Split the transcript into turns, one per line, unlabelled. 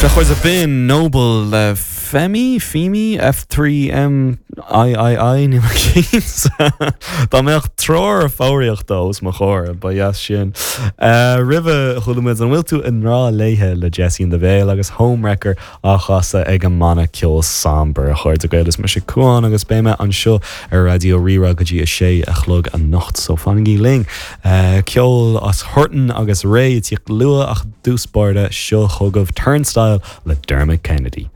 Sea, a chairde, b'in Noble le Femi, Femi, F3M III, níl mé cinnte. Dá mbeadh treoir foghraíochta os mo chomhair, ba dheas sin. Roimhe, chuala muid An bhfuil tú i ngrá léithe le Jessie and the Veil agus Homewrecker á chasadh ag an mbanna ceoil Somber. A chairde Gael, is mise Cuán agus beidh mé anseo ar Raidió Rí-Rá go dtí a sé a chlog anocht, so fanaigí linn. Ceol as Horton agus Ray ag tíocht luath ach i dtús báire, seo chugaibh Turnstile le Dermot Kennedy.